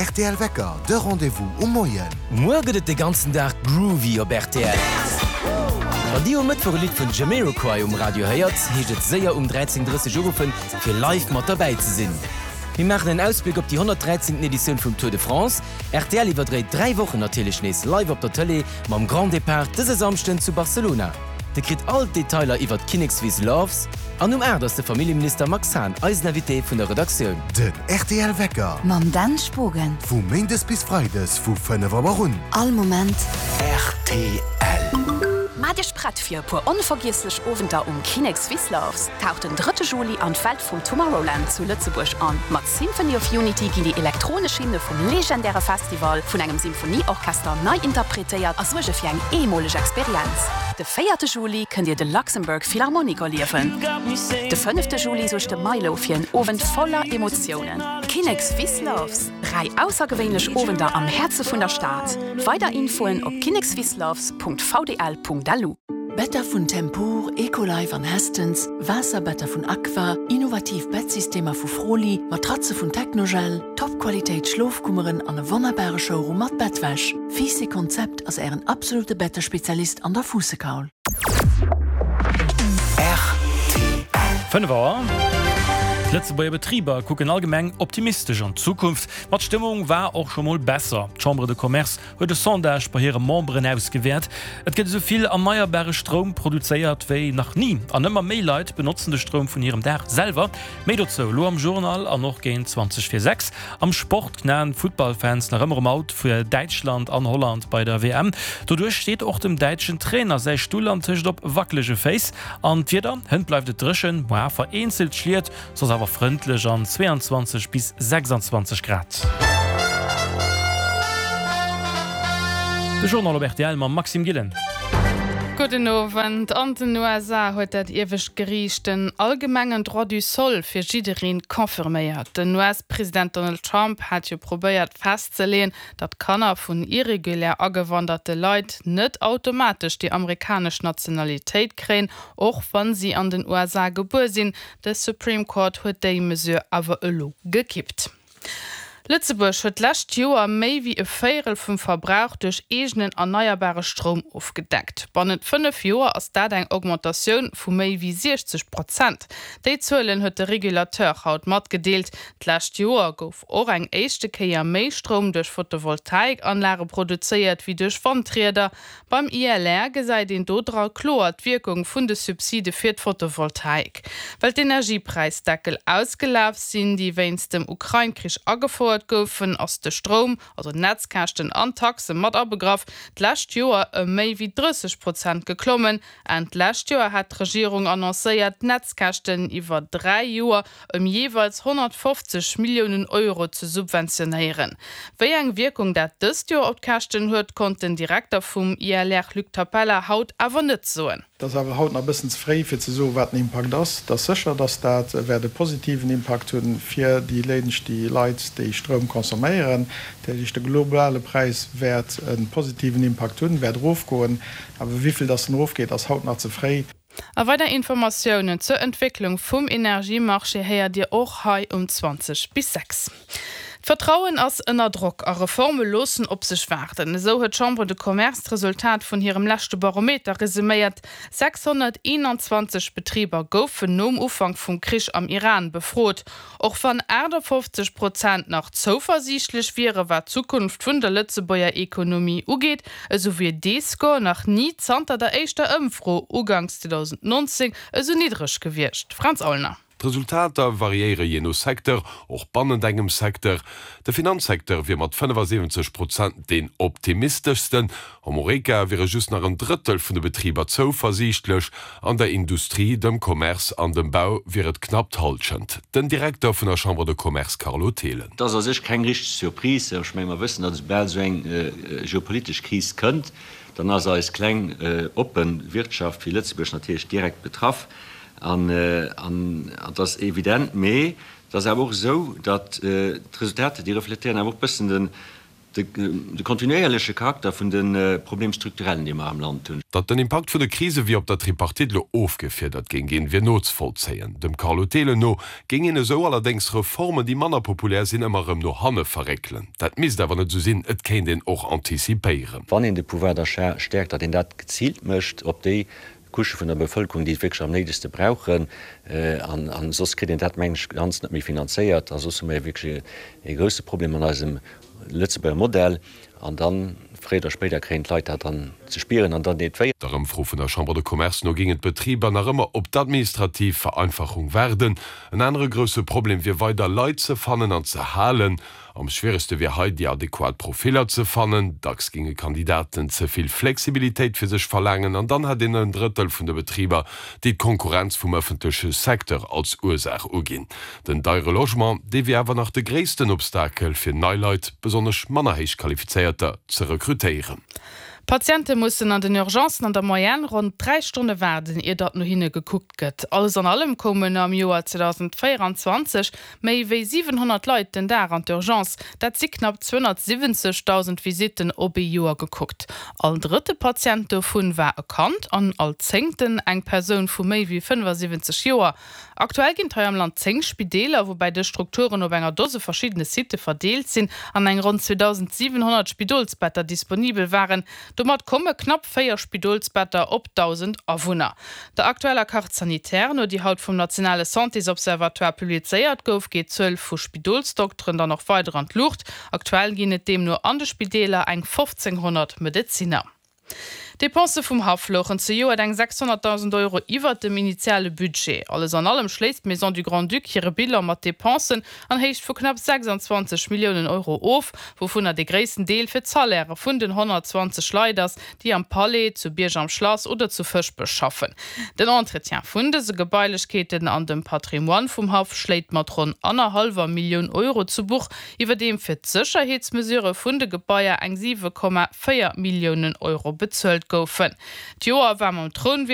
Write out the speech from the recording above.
rtl Wecker, de Rendez-vous um Moien. Muer gëtt et de ganzen Dag groovy op rtl. Wann dir um Mëttwoch e Lidd vun Jamiroquai um Radio héiert, heescht et séier um 13:30 uruffen, fir live mat derbäi ze sinn. Mir maachen en Ausbléck op déi 113. Editioun vum Tour de France. Rtl iwwerdréit 3 Wochen natierlech nees live op der Tëlee mam Grand Depart dëse Samschden zu Barcelona. Dir kritt all d'Detailer iwwert d'Kinnekswiss Loves an um 8 ass de Familljeminister Max Hahn eisen Invité vun der Redaktioun. Den rtl Wecker. Mam Dan Spogen. Vu Méindes bis Freides vu 5 Auer un. All Moment. Rtl. Maacht Iech prett fir e puer onvergiesslech Owenter um Kinnekswiss Loves. Taucht den drëtte Juli an d'Welt vum Tomorrowland zu Lëtzebuerg an. Mat Symphony of Unity ginn déi elektronesch Hymne vum legendäre Festival vun engem Symphonieorchester nei interpretéiert a suerge fir eng eemoleg Experienz. De véierte Juli kënnt Dir de Luxembourg Philharmonic erliewen. De fënnefte Juli suergt de Milow fir en Owend voller Emotiounen. Kinnex Wisloves, 3 aussergewéinlech Owender am Häerze vun der Stad. Weider Infoen op kinnekswisloves.vdl.lu. Better vun Tempur, Ecolife an Hästens, Waasserbetter vun Aqua, innovativ Bettsystemer vu Froli, Matratze vun Technogel, Top-Qualitéit Schlofkummeren an e wonnerbare Showroom mat Bettwäsch. Fiiss Konzept ass ären absolute Bettespezialist an der Fuussekaul. Rtl. 5 Auer. D'Lëtzebuerger Betriber kucken allgemeng optimistesch an d'Zukunft, ma d'Stëmmung war och scho mol besser. D'Chambre de Commerce huet e Sondage bei hire Memberen ausgewäert. Et gëtt esou vill erneierbare Stroum produzéiert wéi nach ni an ëmmer méi Leit benotzen de Stroum vun hirem Daach selwer. Méi dozou elo am Journal an och géint 20 vir 6. Am Sport knaen d'Futtballfans nach ëmmer um Out fir Däitschland an Holland bei der WM. Doduerch steet och dem däitschen Trainer säi Stull antëscht op wackelege Féiss. An d'Wieder, Hënt bleift et dréchen, muar vereenzelt Schliet, Soss awer frëndlech an 22 bis 26 Grad. De Journal op rtl mam Maxime Gillen. Gudden Owend. An den USA huet dat iewescht Geriicht den allgemengen Droit du sol fir jiddereen confirméiert. Den US-President Donald Trump hat jo probéiert festzeleeën, datt Kanner vun irregulär agewanderte Leit net automatesch déi amerikanesch Nationalitéit kréien, och wann si an den USA gebuer sinn. De Supreme Court huet déi Mesure awer elo gekippt. Lëtzebuerg huet d'lescht Joer méi wéi e Véierel vum Verbrauch duerch eegenen erneierbare Stroum ofgedeckt. Bannent 5 Joer ass dat eng Augmentatioun vu méi wéi 60 Prozent. Déi Zuelen huet de Regulateur haut matgedeelt. D'lescht Joer gouf och eng éischte Kéier méi Stroum duerch Photovoltaikanlage produzéiert wéi duerch Wandrieder. Beim ILR gesäit een do dra kloer d'Wierkung vun de Subside fir d'Photovoltaik. Well d'Energiepräisdeckel ausgelaf sinn, déi wéinst dem Ukrain-Krich agefouert goufen, ass de Stroum, also d'Netzkäschten an d'Taxe mat abegraff, d'lescht Joer ëm méi wéi 30 Prozent geklommen. Enn d'lescht Joer hat d'Regierung annoncéiert, d'Netzkäschten iwwer 3 Joer ëm jeeweils 150 Milliounen Euro ze subventionéieren. Wéi eng Wierkung dat dëst Joer op d'Käschten huet, konnt den Direkter vum ILR Luc Tapella haut awer net soen. Et ass awer haut nach e bëssen ze fréi fir ze soen, wat den Impakt ass. Et ass sécher, datt dat wäert e positiven Impakt hunn fir déi déi Leit, déi Stroum consomméieren. Dat heescht, de globale Präis wäert e positiven Impakt hunn, wäert erofgoen. Awer wéi vill datt en erofgeet, ass haut nach ze fréi. A weider Informatiounen zur Entwécklung vum Energiemarché héiert Dir och hei um 20 bis 6. D'Vertrauen ass ënner Drock a Reforme loossen op sech waarden. Esou huet d'Chambre de Commerce d'Resultat vun hirem leschte Barometer resuméiert. 621 Betriber goufen nom Ufank vum Krich am Iran befrot. Och wann 58 Prozent nach zouversiichtlech wiere wat d'Zukunft vun der Lëtzebuerger Ekonomie ugeet, esou wier dee Score nach ni zanter der éischter Ëmfro uganks 2019 esou niddreg gewiescht. Fränz Aulner. D'Resultater variéiere jee no Secteur, och bannent engem Secteur. De Finanzsecteur wier mat 75 Prozent deen optimisteschsten. Am Horeca wiere just nach en Drëttel vun de Betriber zouversiichtlech, an der Industrie, dem Commerce an dem Bau wier et knapp d'Hallschent. Den Direkter vun der Chambre de Commerce Carlo Thelen. Et ass a sech keng richteg Surprise. Ech menge mer wëssen, datt esoubal esou eng geopolitesch Kris kënnt, dann ass eis kleng oppe Wirtschaft wéi Lëtzebuerg natierlech direkt betraff. An et ass evident. Mee et ass awer och esou, datt d'Resultater, déi refletéieren awer och e bëssen den. De kontinuéierleche Charakter vun de Problème structurellen, déi mer am Land hunn. Datt den Impakt vun de Krise wéi op der Tripartite elo ofgefiedert géing ginn, wier nozevollzéien. Dem Carlo Thelen no géing een esou allerdéngs Reformen, déi manner populär sinn, ëmmer erëm no hanne verréckelen. Dat misst awer net esou sinn, et kéint een och antizipéieren. Wann een de Pouvoir d'achat stäerkt, datt een dat geziilt mécht op déi Couchë vun der Bevëlkerung, déi et wierklech am néidegste brauchen. An soss kritt een dat, mengen ech, ganz net méi finanzéiert. A soss hu mer wierklech e grousse Problem an eisem Lëtzebuerger Modell. An dann, fréier oder spéider, kréien d'Leit dat dann ze spieren an dann deet wéi. Der Ëmfro vun der Chambre de Commerce no géingen d'Betriber nach ëmmer op d'administrativ Vereinfachung waarden. En anere grousse Problem wier weider Leit ze fannen an ze halen. Am schwieregste wier hei, déi adequat Profiller ze fannen. Dacks géinge Kandidaten ze vill Flexibilitéit fir sech verlaangen an dann hätt een en Drëttel vun de Betriber, déi d'Konkurrenz vum ëffentleche Secteur als Ursaach uginn. Den deiere Logement, dee wier awer nach de gréissten Obstakel fir nei Leit, besonnesch manner héich qualifizéierter, ze rekrutéieren. Patiente mussen an den Urgencen an der Moyenne ronn 3 Stonne waarden, ier datt no hinne gekuckt gëtt. Alles an allem koumen am Joer 2024 méi wéi 700 Leit den Dag an d'Urgence. Dat si knapp 270.000 Visitten op ee Joer gekuckt. All drëtte Patient dovun war e Kand an all zéngten eng Persoun vu méi wéi 75 Joer. Aktuell ginn et hei am Land 10 Spideeler, woubäi dës Strukturen op enger Dose verschiddene Sitte verdeelt sinn an eng ronn 2.700 Spidolsbetter disponibel waren. Domat komme knapp 4 Spidolsbetter op 1.000 Awunner. Der aktueller Carte sanitaire no, déi haut vum nationale Santésobservatoire publizéiert gouf, geet d'Zuel vu Spidolsdokteren dann och weider an d'Luucht. Aktuell ginn et deemno an de Spideeler eng 1.500 Medezinner. D'Depensë vum Haff louchen zejoert eng 600.000 Euro iwwert dem initiale Budget. Alles an allem schléisst d'Maison du Grand-Duc hire Bilan mat Depensen an Héicht vu knapp 26 Milliounen Euro of, wouvunner de gréissten Deel fir d'Salairë vun den 120 Leit ass, déi am Palais, zu Bierg am Schlass oder zu Fëschbech schaffen. Den Entretien vun dëse Gebailechkeeten an dem Patrimoine vum Haff schléit mat ronn annerhallwer Millioun Euro zu Buch, iwwerdeem fir d'Sécherheetsmesurë vun de Gebaier eng 7,4 Milliounen Euro bezuelt goufen. D'Joer war mam Trounwiessel.